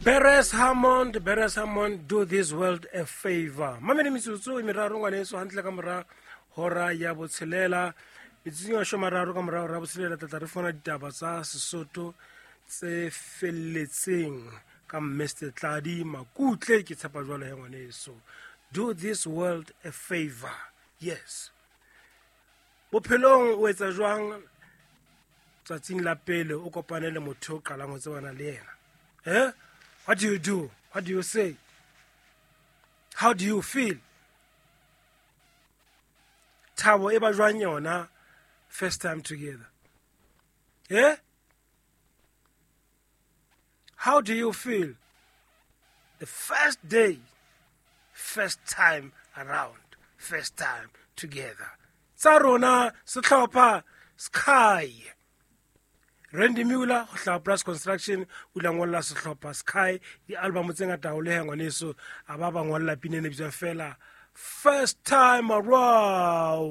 Beres Hammond, Beres Hammond, do this world a favor. Mamele metsotso e meraro ngwaneso hantle ka mora hora ya botshelela. Metsotsong ya mararo ka mora hora ya botshelela tlatla re fona ditaba tsa Sesotho tse felletseng ka Mr. Tladi Makutle ke tshepa jwalo he ngwaneso. Do this world a favor. Yes. Bophelong o etsa jwang tsatsing la pele o kopane le motho o qalang ho tsebana le yena? Eh? What do you do? What do you say? How do you feel? Thabo e ba jwang yona first time together? Eh? How do you feel the first day, first time around, first time together? Tsa rona sehlopha Sky. Randy Muller ho hlaha Plus Construction o ile a ngolla sehlopha Sky di-album tse ngata haholo he ngwaneso a ba ba ngolla pina e ne bitswang fela First Time Around.